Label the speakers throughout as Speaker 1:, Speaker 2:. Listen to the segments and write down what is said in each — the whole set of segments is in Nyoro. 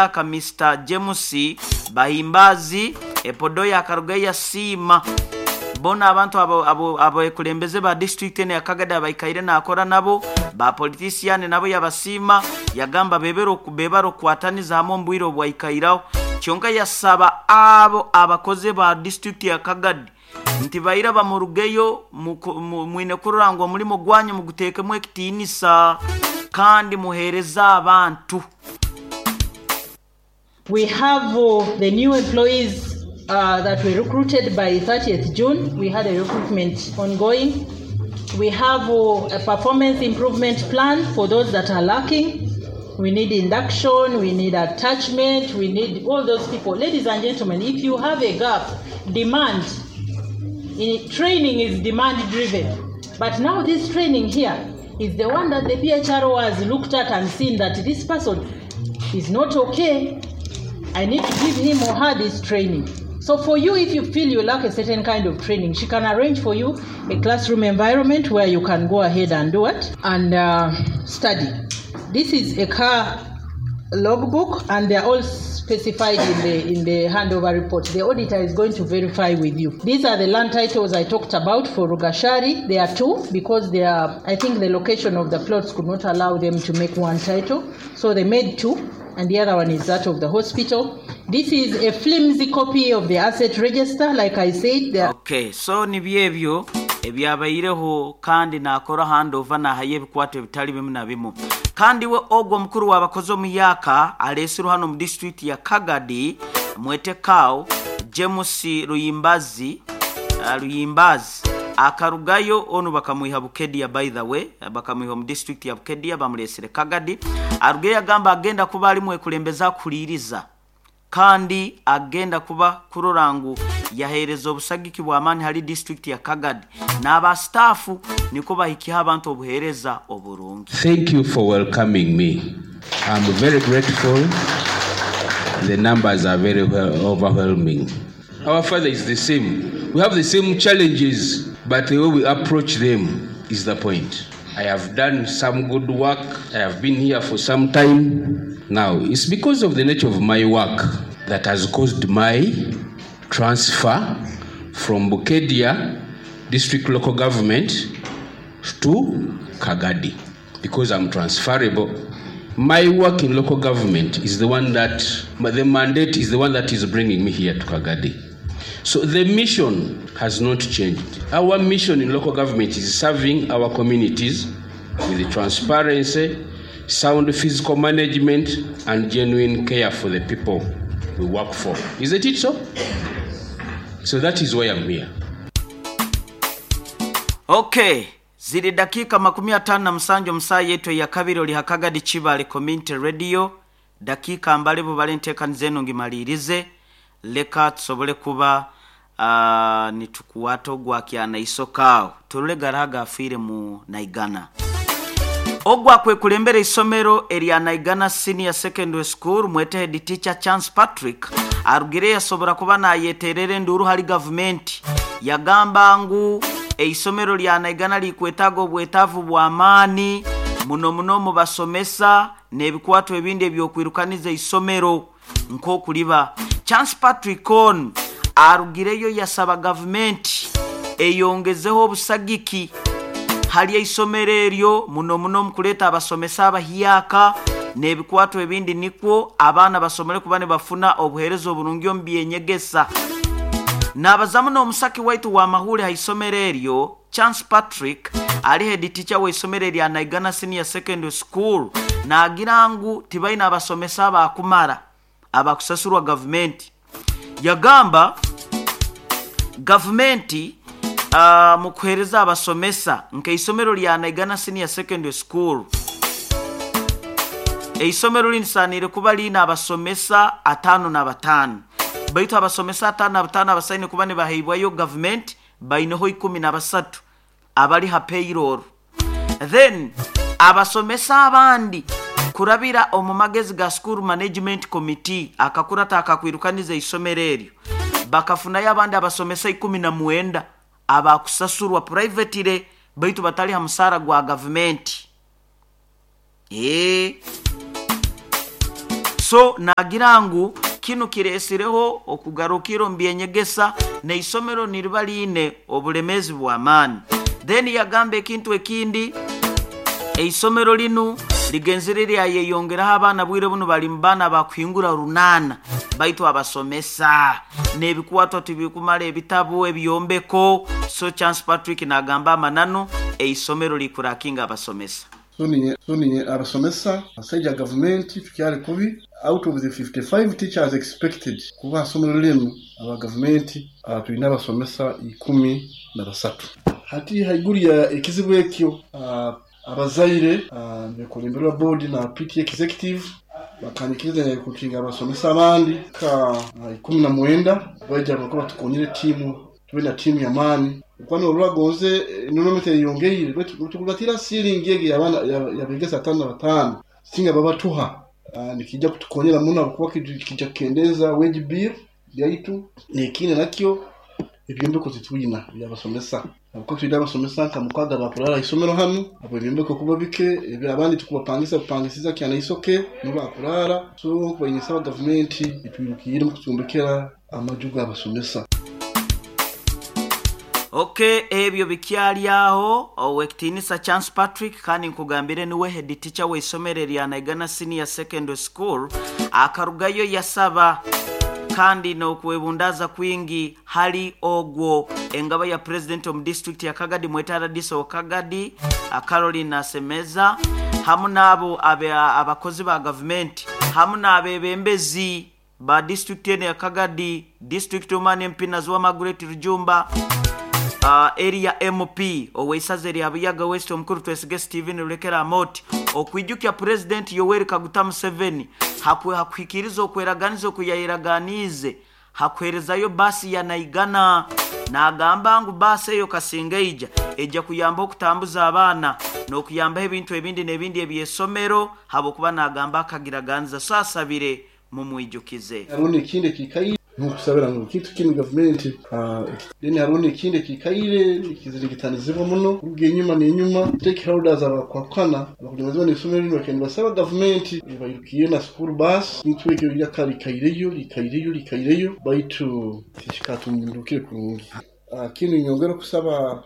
Speaker 1: Omuhyaka Mister James Bahimbazi Epodoya akarugayo yasiima boona abantu abekulembeze ba disiturikiti enu eya Kagadi abaikaire nakora nabo, ba politisiyani nabo yabasiima yagamba bebare okukwataniza hamwe omu bwire obwaikairaho kyonka yasaba abo abakozi ba disiturikiti ya Kagadi nti baira bamurugeyo mwine kurora ngu omulimo gwanyu muguteekemu ekitiinisa kandi muheereze abantu.
Speaker 2: We have the new employees that were recruited by 30th June, we had a recruitment ongoing. We have a performance improvement plan for those that are lacking. We need induction, we need attachment, we need all those people. Ladies and gentlemen, if you have a gap, demand. In, training is demand driven. But now this training here is the one that the PHRO has looked at and seen that this person is not okay. I need to give him or her this training. So for you, if you feel you lack a certain kind of training, she can arrange for you a classroom environment where you can go ahead and do it and study. This is a car logbook, and they are all specified in the handover report. The auditor is going to verify with you. These are the land titles I talked about for Rugashari. There are two because they are, I think the location of the plots could not allow them to make one title. So they made two, and the other one is that of the hospital. This is a flimsy copy of the asset register, like I said. There
Speaker 1: Ok, so nibyo ebyo ebyabaireho kandi nakora handover nahayo ebikwato ebitali bimu na bimu. Kandi we ogwo omukuru w'abakozi omuyaaka aleesirwe hanu omu disiturikiti ya Kagadi mwete Cow James Luyimbazi Luyimbazi akarugayo onu bakamwiha Bukedia by the way bakamwiha omu disiturikiti ya Bukedia bamuleesire Kagadi arugeyo agamba agenda kuba ali mwekulembeze akuhuriiriza kandi agenda kuba kurora ngu yaheereza obusagiki bw'amaani hali disiturikiti ya Kagadi n'aba sitaafu nikwo bahikyeho abantu obuheereza oburungi.
Speaker 3: Thank you for welcoming me. I'm very grateful. The numbers are very overwhelming. Our father is the same. We have the same challenges, but the way we approach them is the point. I have done some good work. I have been here for some time now. It's because of the nature of my work that has caused my transfer from Bukedia District Local Government to Kagadi, because I'm transferable. My work in local government is the one that, the mandate is the one that is bringing me here to Kagadi. So the mission has not changed. Our mission in local government is serving our communities with transparency, sound fiscal management, and genuine care for the people we work for. Isn't it so? So that is why I'm here.
Speaker 1: Okay, ziri dakiika 57 omu saaha yaitu eyakabiri ori ha Kagadi Kibale Community Radio. Dakiika mbale bubale enteekaniza enu ngimaliirize, leka tusobole kuba nitukuwata ogwa kyanaisoka aho turole garaha agafiire mu Naigana. Ogwo akwekulembera eisomero erya Naigana Senior Secondary School mwete head teacher Chance Patrick arugire yasobora kuba nayeterera enduuru hali gavumenti yagamba ngu eisomero lya Naigana likwetaaga obwetaavu bw'amaani muno muno omu basomesa n'ebikwato ebindi eby'okwirukaniza eisomero nk'okuliba. Chance Patrick onu arugireyo yasaba gavumenti eyongezeho obusagiki hali eisomero eryo muno muno omu kuleeta abasomesa abahyaka n'ebikwato ebindi nikwo abaana basomere kuba nibafuna obuheereza oburungi omu byenyegesa. Naabazamu n'omusaki waitu wa mahuri ha isomero eryo Chance Patrick ali head teacher w'eisomero erya Naigana Senior Secondary School naagira ngu tibaine abasomesa abakumara abakusasurwa gavumenti. Yagamba gavumenti mu kuheereza abasomesa nk'eisomero lya Naigana Senior Secondary School eisomero linisaaniire kuba liine abasomesa 55 baitu abasomesa 55 abasaine kuba nibaheibwayo gavumenti baineho 13 abali ha payroll. Then abasomesa abandi kurabira omu magezi ga School Management Committee akakurata akakwirukaniza eisomero eryo bakafunayo abandi abasomesa 19 abakusasurwa privately baitu batali ha musaara gwa gavumenti. So nagira ngu kinu kiresireho okugarukira omu byenyegesa n'eisomero niriba liine obulemezi bw'amaani. Then yagamba ekintu ekindi, eisomero linu ligenzere lyayeyongeraho abaana bwire bunu bali mu baana bakuhingura 800, baitu abasomesa n'ebikwatwa tibikumara ebitabu, ebyombeko. So Chance Patrick nagamba amananu, eisomero likurakinga abasomesa.
Speaker 4: So abasomesa asaija gavumenti tukyali kubi. Out of the 55 teachers expected kuba somero linu aba gavumenti, tulina abasomesa 13. Hati haiguru ya ekizibu ekyo, abazaire bekulemberwa board na PTA executive bakanyikiriza kukinga abasomesa abandi ka 19 baija bakuba tukonyere timu, tube na timu ya maani. Kwani olwagonze enrollment eyongeire, tukubatira ceiling egi abaana yabegesa 55 singa babatuha, nikijja kutukonyera muno kuba kijja kukendeza wage bill yaitu. Nekindi nakyo, ebyombeko titwina byabasomesa, kuko twina abasomesa nka 6 bakurara isomero hanu, abo ebyombeko kuba bike, abandi tukubapangisa kupangisiza kyana isoke nibo bakurara. So kubayinisaba gavumenti etwirukire mu kutumbekera amaju g'abasomesa.
Speaker 1: Okay, ebyo bikyali aho. Owekitinisa Chance Patrick, kandi nkugambire niwe head teacher w'eisomero erya Naigana Senior Secondary School, akarugayo yasaba kandi n'okwebundaza kwingi hali ogwo engaba ya president omu district ya Kagadi, mwetara diso Kagadi, Caroline Asemeza, hamu n'abo abakozi ba gavumenti, hamu n'abebembezi ba district eno ya Kagadi, district woman MP Naziwa Margaret Rujumba, area MP oweisaza erya Buyaga West omukuru Twesige Steven Rulekera Amoti, okwijukya President Yoweri Kaguta Museveni hakuhikiriza okweraganiza okuyayeraganize hakuherezayo basi ya Naigana. Nagamba ngu basi eyo kasinga ejja kuyamba okutambuza abaana n'okuyambaho ebintu ebindi n'ebindi eby'esomero, habwokuba nagamba akagiraganiza. So asabire mumwijukize.
Speaker 4: Hariho n'ekindi ekikaire n'okusabira ngu kintu kinu gavumenti, then hariho n'ekindi ekikaire ekizirigitanizibwa muno kuruga enyuma n'enyuma, stakeholders abakwakana abakulembeziwa n'isomero linu bakenda basaba gavumenti ebairukire na school bus. Kintu ekyo lyaka likaireyo likaireyo likaireyo, baitu tikikatundukire kurungi. Kinu nyongera kusaba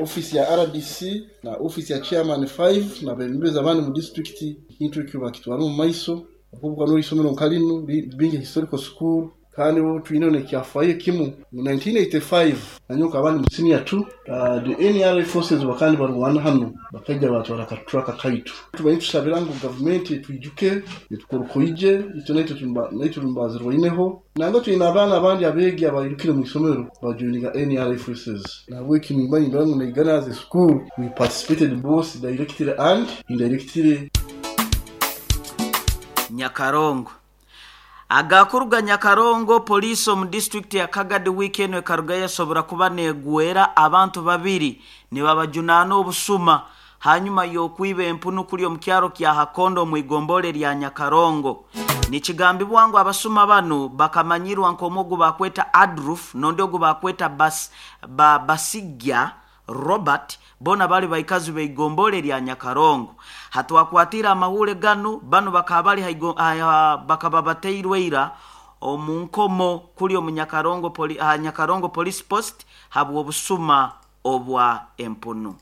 Speaker 4: office ya RDC na office ya chairman 5 na bebembezi abandi mu district, kintu ekyo bakitwara mu maiso, kuko n'isomero nka linu bingi historical school, kandi bo twine n'ekyafayo kimu mu 1985 nanyoka abandi mu senior 2, the NRA forces bakandi barwana hano bakajja batwara katraka kaitu. Tubaye tusabira ngu gavumenti twijuke etukorokoije ito naitwe tumbazirwaineho, nanga twine abaana abandi abeegi abairukire mu isomero bajoininga NRA forces. Nabwe kinimba ngu Naigana as a school we participated both directly and indirectly.
Speaker 1: Nyakarongo. Agakuruga Nyakarongo, poliisi omu district ya Kagadi weekend ekaruga yasobora kuba negwera abantu 2 nibabajunaana obusuma hanyuma y'okwiba empunu kuli omu kyaro kya Hakondo mu igombole lya Nyakarongo. Nikigambibwa ngu abasuma banu bakamanyirwa nk'omugu bakweta Adruf nondi ogu bakweta Basigya Robert, bona bali baikazi beigombole lya Nyakarongo. Hatwakwatira amahule ganu banu bakaba bakaba bateirwe ira omu nkomo kuli omu Nyakarongo Nyakarongo Police Post habwo obusuma obwa empunu.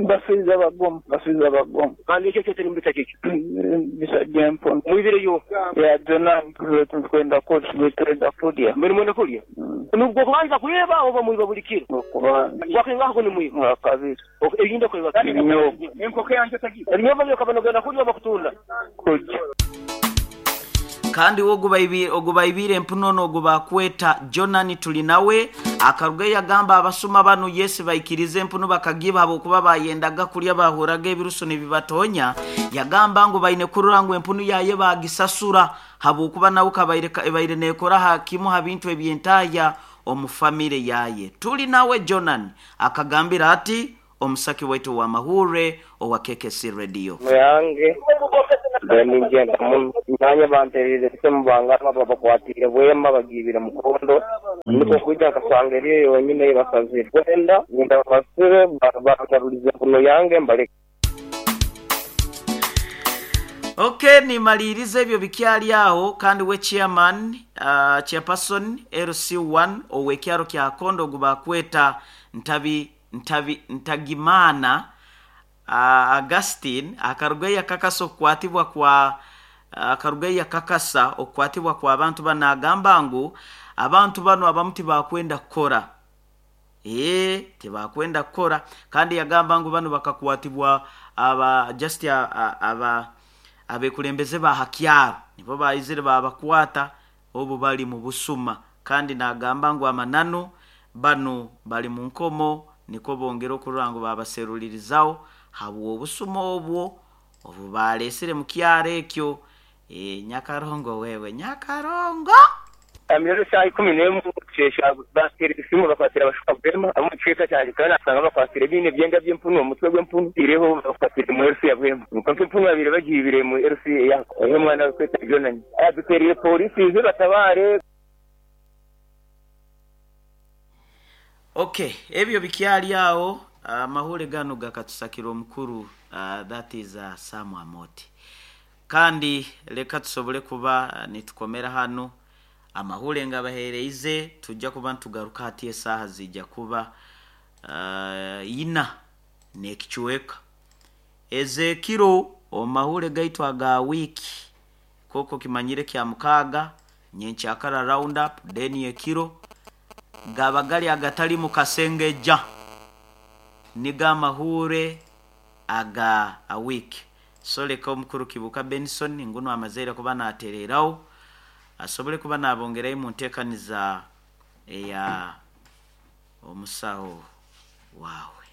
Speaker 5: Basiza bagomu, basiza bagomu.
Speaker 6: Kandi ekyo kyose nimubisa kiki?
Speaker 5: Bisa by'empunu.
Speaker 6: Mwibireyo?
Speaker 5: Ya Jonani, twenda kurya, twenda kurya.
Speaker 6: Mbere mwenda kurya? Nubwo kubanza kuyeba oba mwiba buli kiro?
Speaker 5: Kubanza.
Speaker 6: Wakinga ko ni mwiba?
Speaker 5: Wa kabiri.
Speaker 6: Okay, eyinda kwiba.
Speaker 5: Ibinyobwa.
Speaker 6: Enkoko yanjye tagiye. Ibinyobwa byo kabano kurya oba kutunda?
Speaker 5: Kurya.
Speaker 1: Kandi ogubaibire empuno n'ogubakweta Jonani tuli nawe akaruga yagamba abasuma banu Yesu baikirize empunu bakagiba habwokuba bayendaga kulya bahuraga ebiruso nibibatonya. Yagamba ngu baine kurura ngu empunu yaye bagisasura habwokuba nawe kabaire ebaire nekora hakimu ha bintu ebyentaya omu famire yaye. Tuli nawe Jonani akagambira ati omusaki waitu wa mahure owa KKC Radio.
Speaker 5: Myange Ningyenda muno nanye bantererize esimu bangamba babakwatiire Bwema bagiibire Mukondo, nikwo kwija nkasanga eriyo yonyine ei basazire. Kwenda ngenda babasibe bangarulize empunu yange mbaleke.
Speaker 1: Okay, nimaliriza ebyo bikyali aho kandi we chairman, chairperson LC1 ow'ekyaro kya Kondo ogu bakweta Ntabi Ntabi Ntagimana Augustine akarugayo yakakasa okukwatibwa kwa akarugayo yakakasa okukwatibwa kw'abantu banu, nagamba ngu abantu banu abamu tibakwenda kukora. Tibakwenda kukora, kandi yagamba ngu banu bakakwatibwa aba just aba abekulembeze ba ha kyaro nibo baizire babakwata obu bali mu busuma, kandi nagamba ngu amananu banu bali mu nkomo, nikwo bongere okurora ngu babaserulirizaho habw'obusuma obwo obu baleesire mu kyaro ekyo. Nyakarongo wewe Nyakarongo.
Speaker 5: Rero shaaha 11 kukyesha bateera esimu bakwatira abashuka Bwema ab'omu kicweka kyangye, kandi nasanga bakwatire biine ebyenda by'empunu omu mutwe gw'empunu ireho bakwatire mu LC ya Bwema. Kwonka empunu babaire bagiibire mu LC eya omwana arikweta Jonani. Duteerire pooriisi ize batabaare.
Speaker 1: Okay, ebyo bikyali aho, amahure ganu gakatusakira omukuru, that is Sam Amoti. Kandi leka tusobole kuba nitukomera hanu amahure ngabaheereize, tujja kuba nitugaruka hati esaaha zijja kuba ina n'ekicweka ez'ekiro omu mahure gaitu aga wiiki, koko kimanyire kya mukaaga nyenkyakara round up, then ekiro gaba gali agatali mu kasengeja, nigo amahure aga wiiki. So leka omukuru Kibuuka Benson nguno amazeire kuba natereraho asobole kuba nabongerayo mu nteekaniza eya omusaho wawe.